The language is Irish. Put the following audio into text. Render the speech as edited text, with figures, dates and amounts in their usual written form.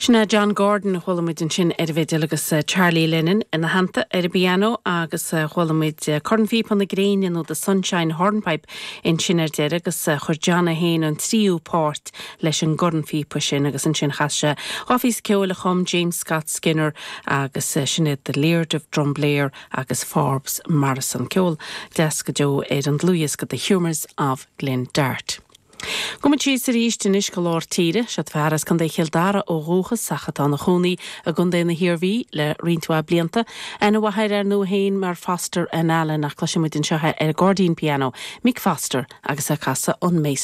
Sin é John Gordon a chuala muid ansin ar an bhfidil agus Charlie Lennon ina theannta ar an bpianó agus chuala muid Cornphíopa na Gréine nó The Sunshine Hornpipe ansin ar deireadh agus chuir John é féin an tríú páirt leis an gcornphíopa sin agus ansin chas sé dhá phíosa ceoil a chum James Scott Skinner agus sin iad The Laird of Drumblair agus Forbes Morrison. Ceol deas go deo ar an dlúthdhiosca The Humours of Glen Dart. Gabhfaidh muid síos arís anois go lár tíre. Seod fear as Contae Chill Dara ó dhúchas ach atá ina chónaí i gContae na hIarmhí le roinnt mhaith blianta. Aithne mhaith air ar ndóigh féin mar Foster and Allen ach cloisfidh muid anseo é ar an gcairdín pianó, Mick Foster agus é ag casadh an Mason.